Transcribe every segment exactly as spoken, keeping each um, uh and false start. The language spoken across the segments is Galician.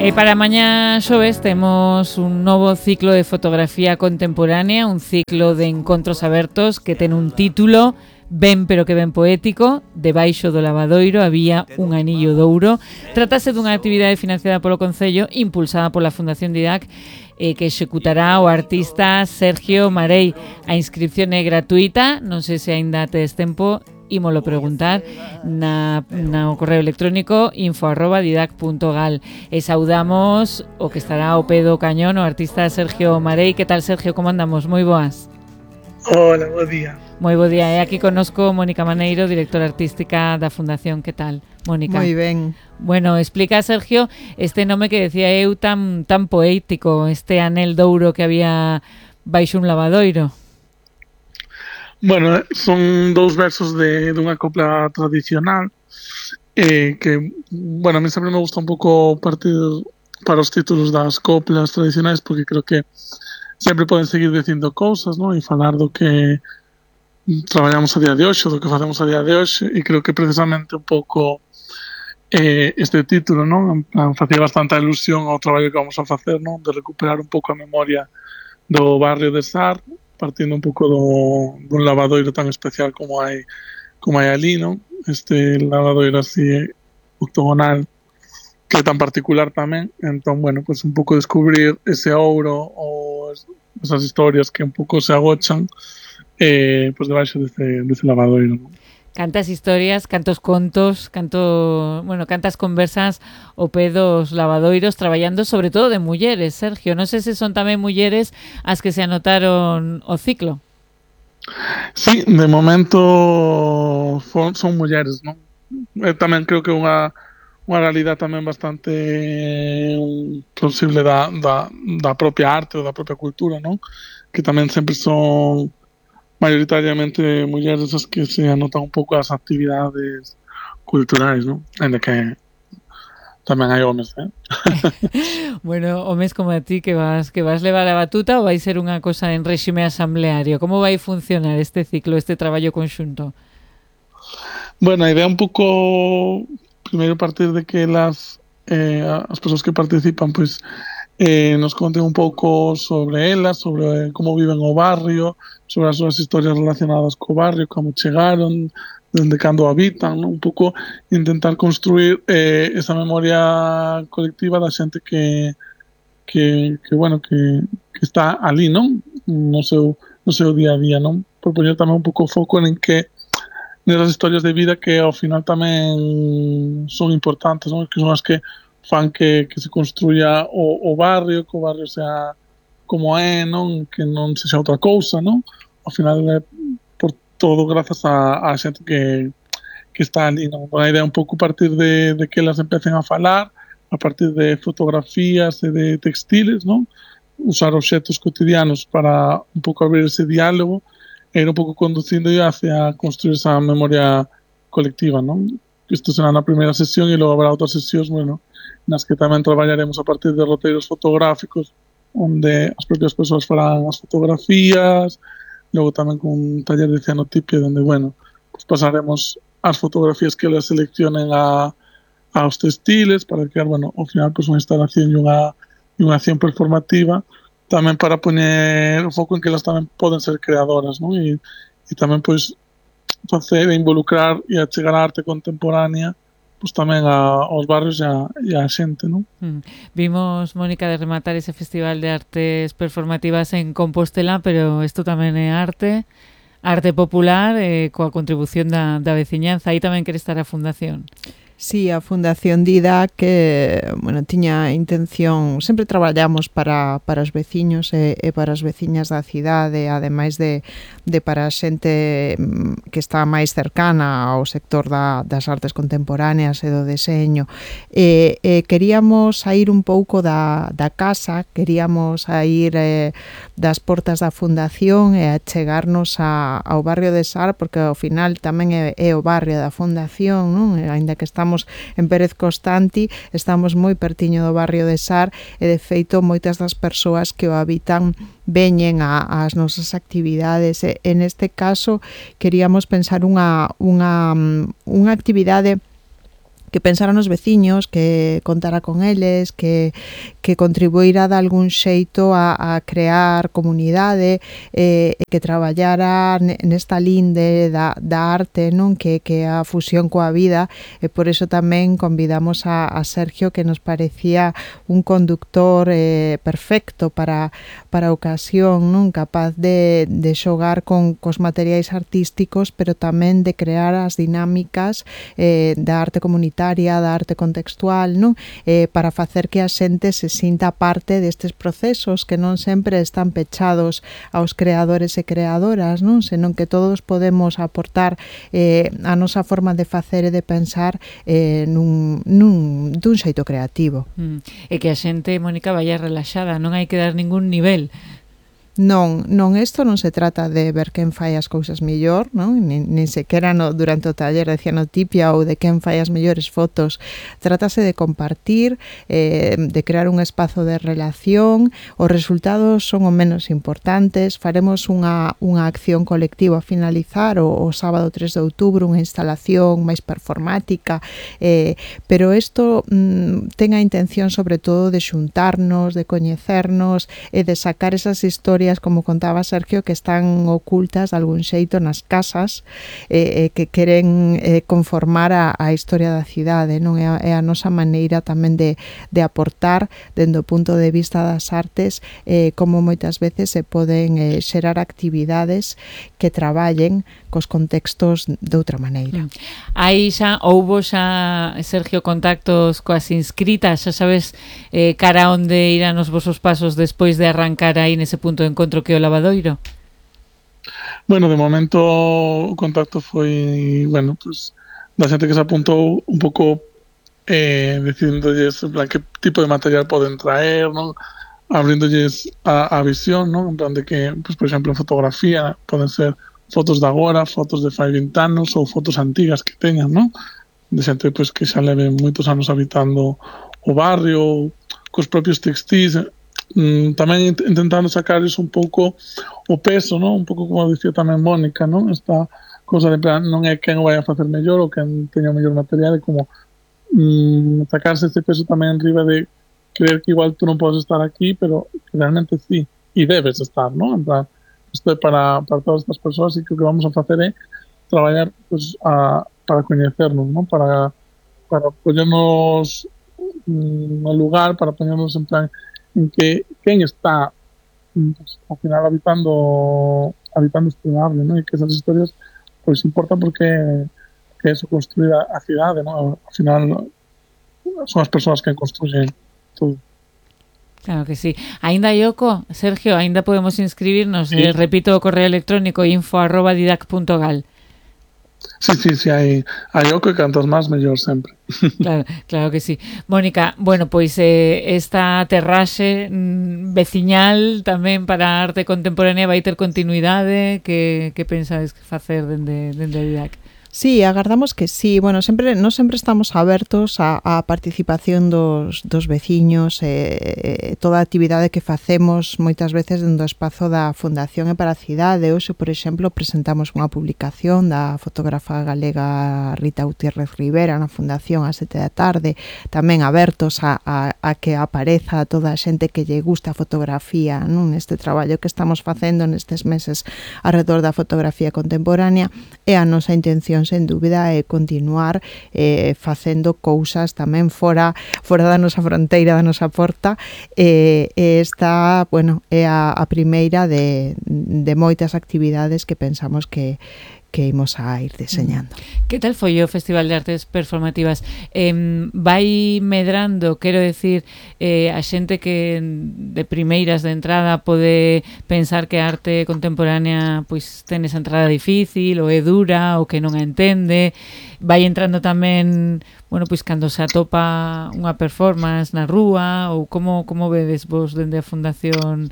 E para mañá xoves temos un novo ciclo de fotografía contemporánea, un ciclo de encontros abertos que ten un título ben pero que ben poético. Debaixo do lavadoiro había un anillo de ouro. Trátase dunha actividade financiada polo Concello, impulsada pola Fundación Didac, eh, que executará o artista Sergio Marei. A inscripción é gratuita, non sei se aínda tedes tempo, ímolo preguntar na, na correo electrónico info arroba didac punto gal. E saudamos o que estará ao pé do cañón, o artista Sergio Marei. Que tal, Sergio, como andamos? Moi boas. Hola, bo día. Moi bo día. E aquí connosco Mónica Maneiro, directora artística da Fundación. Que tal, Mónica? Moi ben. Bueno, explica, Sergio, este nome que decía eu tan tan poético, este anel de ouro que había baixo un lavadoiro. Bueno, son dous versos de dunha copla tradicional eh, que, bueno, a mí sempre me gusta un pouco partir para os títulos das coplas tradicionais porque creo que sempre poden seguir dicindo cousas, non? E falar do que traballamos a día de hoxe, do que facemos a día de hoxe, e creo que precisamente un pouco eh, este título, non? En plan, facía bastante ilusión ao traballo que vamos a facer, non? De recuperar un pouco a memoria do barrio de Sar, partindo un pouco do, dun lavadoiro tan especial como hai como hai ali, non? Este lavadoiro así octogonal que é tan particular tamén. Entón, bueno, pues un pouco descubrir ese ouro ou esas historias que un pouco se agochan eh, pues debaixo deste, deste lavadoiro, non? Cantas historias, cantos contos, canto, bueno, cantas conversas ao pé dos lavadoiros, traballando sobre todo de mulleres, Sergio. Non sei se son tamén mulleres as que se anotaron o ciclo. Sí, de momento son, son mulleres, non? Eh, tamén creo que unha unha realidade tamén bastante eh, plausible da, da, da propia arte ou da propia cultura, non? Que tamén sempre son maioritariamente mulleres as que se anotan un pouco as actividades culturais, non? Ainda que tamén hai homes, eh? Bueno, homes como a ti que vas que vas levar a batuta, ou vai ser unha cosa en réxime asambleario? Como vai funcionar este ciclo, este traballo conxunto? Bueno, a idea un pouco primeiro partir de que las eh, as persoas que participan pois eh, nos conten un pouco sobre elas, sobre como viven o barrio, sobre as súas historias relacionadas co barrio, como chegaron, dende cando habitan, non? Un pouco intentar construir eh, esa memoria colectiva da xente que, que, que bueno, que, que está ali, non? No seu, no seu día a día, non? Por poñer tamén un pouco foco en que nesas historias de vida que ao final tamén son importantes, non? Que son as que fan que, que se construya o, o barrio, que o barrio sea como é, non? Que non sexa outra cousa, non? Ao final é por todo grazas a, a xente que, que está ali, non? A idea é un pouco partir de, de que elas empecen a falar, a partir de fotografías e de textiles, non? Usar obxetos cotidianos para un pouco abrir ese diálogo e ir un pouco conducindo hacia construir esa memoria colectiva, non? Isto será na primeira sesión e logo habrá outras sesións, bueno, nas que tamén traballaremos a partir de roteiros fotográficos onde as propias persoas farán as fotografías, logo tamén con un taller de cianotipia onde, bueno, pues pasaremos as fotografías que elas seleccionen a, aos textiles para crear, bueno, ao final, pues unha instalación e unha, e unha acción performativa tamén para poñer o foco en que elas tamén poden ser creadoras, non? E, e tamén, pois, facer e involucrar e achegar a arte contemporánea pues tamén a, aos barrios e a, e a xente, non? Mm. Vimos, Mónica, de rematar ese festival de artes performativas en Compostela, pero isto tamén é arte, arte popular, eh, coa contribución da, da veciñanza. Aí tamén quere estar a Fundación. Sí, a Fundación Didac que, bueno, tiña intención, sempre traballamos para, para os veciños e, e para as veciñas da cidade, ademais de, de para a xente que está máis cercana ao sector da, das artes contemporáneas e do deseño. E, e queríamos sair un pouco da, da casa, queríamos sair eh, das portas da Fundación e achegarnos a, ao barrio de Sar, porque ao final tamén é, é o barrio da Fundación, non? E, ainda que estamos en Pérez Constanti, estamos moi pertiño do barrio de Sar e, de feito, moitas das persoas que o habitan veñen a, as nosas actividades. E, en este caso, queríamos pensar unha, unha, unha actividade que pensara nos veciños, que contara con eles, que, que contribuíra de algún xeito a, a crear comunidade, e eh, que traballara nesta linde da, da arte, non, que, que a fusión coa vida, e por iso tamén convidamos a, a Sergio, que nos parecía un conductor eh, perfecto para, para a ocasión, non, capaz de, de xogar con cos materiais artísticos, pero tamén de crear as dinámicas eh, da arte comunitaria, da arte contextual, non? Eh, para facer que a xente se sinta parte destes procesos que non sempre están pechados aos creadores e creadoras, non? Senón que todos podemos aportar eh, a nosa forma de facer e de pensar eh, nun, nun, dun xeito creativo. Mm. E que a xente, Mónica, vaya relaxada, non hai que dar ningún nivel. Non, non, isto non se trata de ver quen fai as cousas mellor, non? Nin, nin sequera no, durante o taller de cianotipia ou de quen fai as mellores fotos. Trátase de compartir, eh, de crear un espazo de relación. Os resultados son o menos importantes. Faremos unha, unha acción colectiva a finalizar o, o sábado tres de outubro, unha instalación máis performática, eh, pero isto mm, ten a intención sobre todo de xuntarnos, de coñecernos e de sacar esas historias, como contaba Sergio, que están ocultas de algún xeito nas casas, eh, que queren eh, conformar a, a historia da cidade, non? É a, é a nosa maneira tamén de, de aportar dende o punto de vista das artes, eh, como moitas veces se poden eh, xerar actividades que traballen cos contextos de outra maneira. Aí xa houbo xa, Sergio, contactos coas inscritas, xa sabes eh, cara onde irán os vosos pasos despois de arrancar aí nese punto de encontro que o Lavadoiro? Bueno, de momento o contacto foi, bueno, pues da xente que se apuntou un pouco eh, decidindolles en plan que tipo de material poden traer, non? Abrindolles a, a visión, non? En plan de que, pues, por exemplo, en fotografía poden ser fotos de agora, fotos de fai vinte anos ou fotos antigas que teñan, non? De xente pues, que xa leve moitos anos habitando o barrio, cos propios textis, mm, tamén intentando sacarles un pouco o peso, non? Un pouco como dicía tamén Mónica, non? Esta cosa de plan, non é quen o vai a facer mellor ou quen teña o mellor material, é como mm, sacarse ese peso tamén enriba de creer que igual tú non podes estar aquí, pero que realmente sí, e debes estar, non? En plan, isto é para, para todas estas persoas, e que o que vamos a facer é traballar pues, a, para coñecernos, non? Para, para poñernos no lugar, para poñernos en plan en que quen está pues, ao final habitando habitando este barrio, non? E que esas historias pues importan porque que eso construir a, a cidade, non? Ao final son as persoas que construyen todo. Claro que sí. Ainda Yoko, Sergio, ainda podemos inscribirnos. Sí. Eh, repito o correo electrónico info arroba didac punto gal. Sí, sí, sí, hai, hai Yoko e cantas máis mellor sempre. Claro, claro que sí. Mónica, bueno, pois eh, esta terraxe mm, veciñal tamén para a arte contemporánea vai ter continuidade. Que, que pensades facer dende, dende a Didac? Sí, agardamos que sí. Bueno, sempre non sempre estamos abertos á, á participación dos, dos veciños, e eh, toda a actividade que facemos moitas veces dentro do espazo da Fundación e para a Cidade. Hoxe, por exemplo, presentamos unha publicación da fotógrafa galega Rita Gutiérrez Rivera na Fundación ás sete da tarde, tamén abertos a, a, a que apareza toda a xente que lle gusta a fotografía, non? Neste traballo que estamos facendo nestes meses alrededor da fotografía contemporánea, e a nosa intención sen dúbida é continuar eh, facendo cousas tamén fora fora da nosa fronteira, da nosa porta, e eh, esta, bueno, é a, a primeira de, de moitas actividades que pensamos que que imos a ir deseñando. Que tal foi o Festival de Artes Performativas? Eh, vai medrando, quero decir, eh, a xente que de primeiras de entrada pode pensar que a arte contemporánea pois ten esa entrada difícil, ou é dura, ou que non a entende. Vai entrando tamén, bueno, pois cando se atopa unha performance na rúa, ou como, como vedes vos dende a Fundación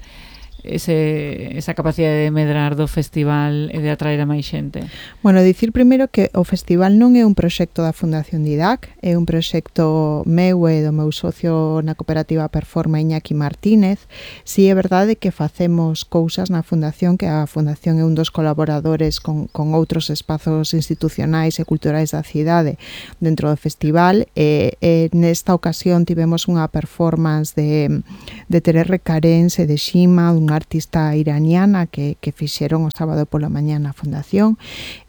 ese, esa capacidade de medrar do festival e de atraer a máis xente? Bueno, dicir primeiro que o festival non é un proxecto da Fundación Didac, é un proxecto meu e do meu socio na cooperativa Performa, Iñaki Martínez. Si é verdade que facemos cousas na Fundación, que a Fundación é un dos colaboradores con, con outros espazos institucionais e culturais da cidade dentro do festival, e, e nesta ocasión tivemos unha performance de, de Tererre Carens e de Shima, un artista iraniana que, que fixeron o sábado pola mañá na Fundación.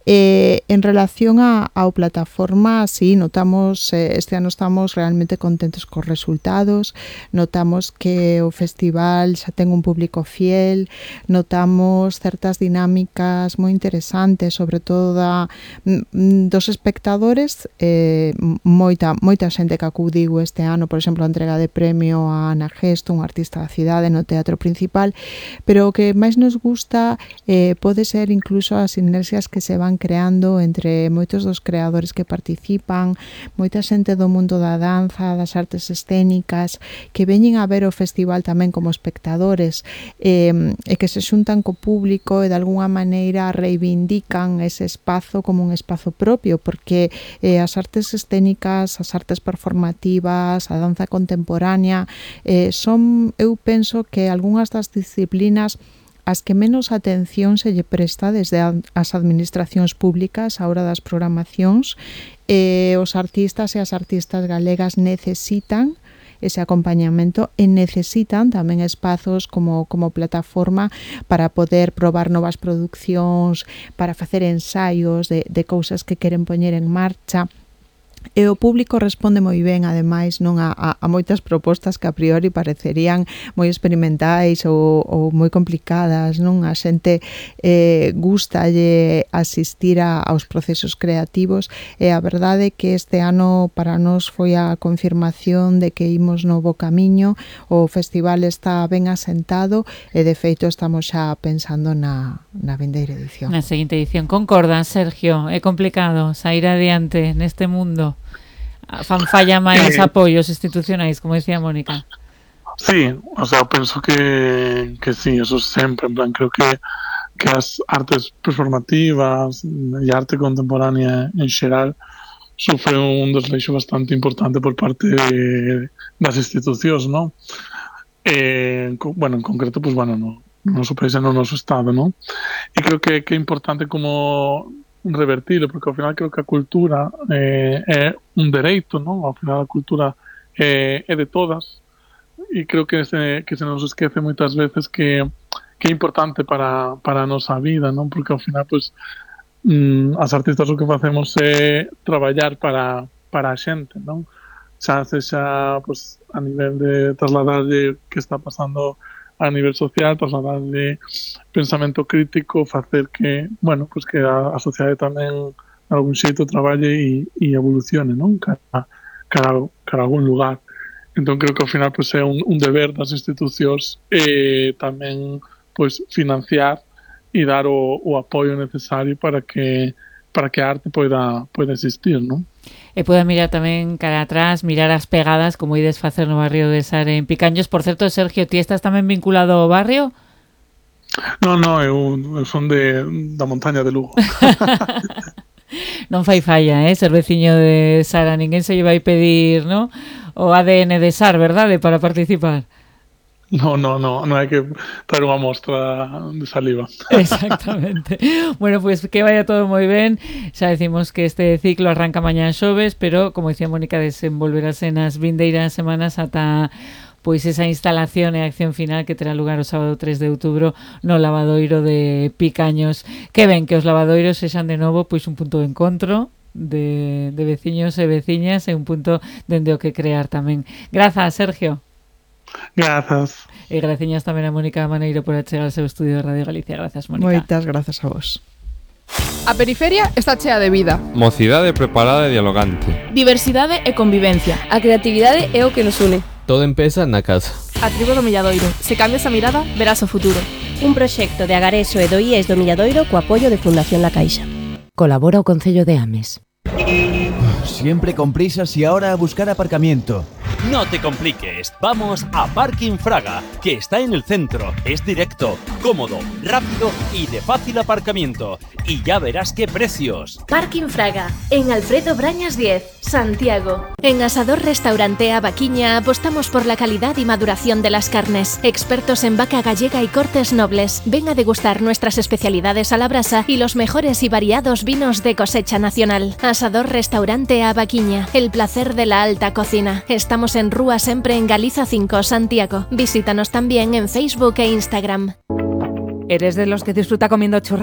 Eh, en relación a, ao plataforma, sí, notamos, eh, este ano estamos realmente contentos cos resultados, notamos que o festival xa ten un público fiel, notamos certas dinámicas moi interesantes, sobre todo da, dos espectadores, eh, moita, moita xente que acudiu este ano, por exemplo, a entrega de premio a Ana Gesto, un artista da cidade no Teatro Principal, pero o que máis nos gusta eh, pode ser incluso as sinerxias que se van creando entre moitos dos creadores que participan, moita xente do mundo da danza, das artes escénicas, que veñen a ver o festival tamén como espectadores, eh, e que se xuntan co público e de alguna maneira reivindican ese espazo como un espazo propio, porque eh, as artes escénicas, as artes performativas, a danza contemporánea, eh, son, eu penso que algunhas das disciplinas as que menos atención se lle presta desde as administracións públicas a hora das programacións. Eh, os artistas e as artistas galegas necesitan ese acompañamento e necesitan tamén espazos como, como plataforma para poder probar novas produccións, para facer ensaios de, de cousas que queren poñer en marcha. E o público responde moi ben, ademais, non a, a, a moitas propostas que a priori parecerían moi experimentais ou, ou moi complicadas, non? A xente eh, gustalle asistir a, aos procesos creativos, e a verdade é que este ano para nós foi a confirmación de que imos no bo camiño, o festival está ben asentado e de feito estamos xa pensando na, na vindeira edición. Na seguinte edición. Concordan, Sergio? É complicado sair adiante neste mundo? Fan falla máis eh, apoios institucionais, como decía Mónica. Sí, o sea, penso que, que sí, eso sempre, en plan, creo que, que as artes performativas e arte contemporánea en xeral sufre un desleixo bastante importante por parte de, das institucións, ¿no? Eh, bueno, en concreto, pues bueno, no, no noso país e no noso estado, ¿no? E creo que, que é importante como revertirlo, porque ao final creo que a cultura eh, é un dereito, non? Ao final a cultura eh, é de todas, e creo que se, que se nos esquece moitas veces que, que é importante para, para a nosa vida, non? Porque ao final, pues, mm, as artistas o que facemos é traballar para, para a xente, non? Xa sexa, pues, a nivel de trasladarlle que está pasando a nivel social, trasladar de pensamento crítico, facer que, bueno, pues que a, a sociedade tamén algún xeito traballe e, e evolucione, non? Cara, cara, cara a algún lugar. Entón creo que ao final pues, é un, un deber das institucións eh, tamén pues, financiar e dar o, o apoio necesario para que para que a arte poida, poida existir, non? E poda mirar tamén cara atrás, mirar as pegadas, como ides facer no barrio de Sar en Picaños. Por certo, Sergio, ti estás tamén vinculado ao barrio? Non, non, eu, eu son de, da montaña de Lugo. Non fai falla, eh, ser veciño de Sar, a ninguén se lle vai pedir, ¿no? O A D N de Sar, verdade, para participar? No, no, no, non hai que traer unha mostra de saliva. Exactamente. Bueno, pues que vaya todo moi ben. Xa decimos que este ciclo arranca mañá xoves, pero, como dicía Mónica, desenvolverase nas vindeiras semanas ata pois esa instalación e acción final que terá lugar o sábado tres de outubro no lavadoiro de Picaños. Que ben que os lavadoiros sexan de novo pois un punto de encontro de, de veciños e veciñas e un punto dende o que crear tamén. Grazas, Sergio. Grazas. E graciñas tamén a Mónica Maneiro por achegar ao seu estudio de Radio Galicia. Grazas, Mónica. Moitas grazas a vos. A periferia está chea de vida. Mocidade preparada e dialogante. Diversidade e convivencia. A creatividade é o que nos une. Todo empeza na casa. A tribo do Milladoiro. Se cambias a mirada, verás o futuro. Un proxecto de Agareso e do I E S do Milladoiro co apoio de Fundación La Caixa. Colabora o Concello de Ames. Siempre con prisas y ahora a buscar aparcamiento. No te compliques, vamos a Parking Fraga, que está en el centro, es directo, cómodo, rápido y de fácil aparcamiento. Y ya verás qué precios. Parking Fraga, en Alfredo Brañas diez, Santiago. En Asador Restaurante Abaquiña apostamos por la calidad y maduración de las carnes. Expertos en vaca gallega y cortes nobles. Ven a degustar nuestras especialidades a la brasa y los mejores y variados vinos de cosecha nacional. Asador Restaurante Abaquiña, el placer de la alta cocina. Estamos en Rúa Sempre en Galiza cinco, Santiago. Visítanos también en Facebook e Instagram. ¿Eres de los que disfruta comiendo churrasco